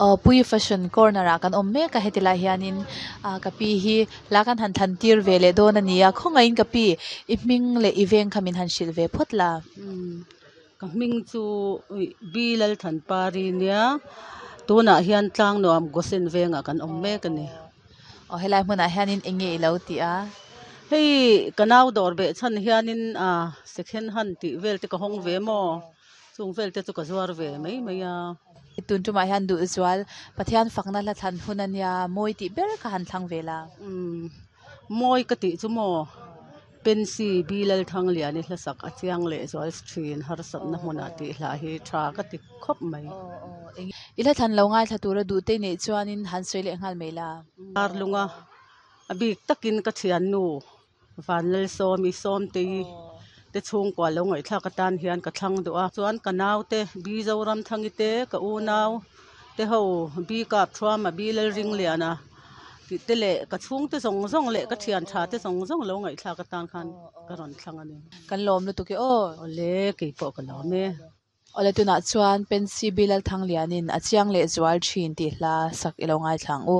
Aw Puii fashion corner ah kan awm mek a heti lai hianin ah ka pi hi hla kan han thlan tir ve leh dawn a ni a khawngaihin ka pi i hming leh i veng kha min han hrilh ve phawt la. Ka hming chu Bi Lalthanpari nia tunah hian Tlangnuam Gosen vengah kan awm mek a ni. Aw helai hmunah hianin eng nge i lo tih a? Hei ka nau dawr beh chhan hianin ah second hand tih vel te ka hawng ve maw? Chung vel te chu ka zuar ve mai mai a. Tun tumah hian duh zual Pathian fakna hla thlan hun a nia, mawi tih ber kha han thlang ve la. Umm mawi ka tih chu maw Pensy Bi Lalthangliani hlasak a chiang leh zual thin harsatna hmunah tih hla hi tha ka ti khawp mai. I hla thlan lo ngaithla tura duh te neih chuanin han sawi leh nghal mai la. Darlunga a bik takin ka thiannu Vanlalsawmi Sawmtei te chhungkua lo ngaihthlak atan hian ka thlang duh a. Chuan ka naute Bi Zoramthangi te, ka unau te ho Bi Kapthuama, Bi Lalringliana tih te leh ka chhungte zawng zawng leh ka thian tha te zawng zawng lo ngaihthlak atan khan ka rawn thlang a ni. Kan lawm lutuk e aw. Awle, keipawh ka lawm e. Awle tunah chuan Pensy Bi Lalthanglianin a chiang leh zual thin tih hla sak i lo ngaithla ang u.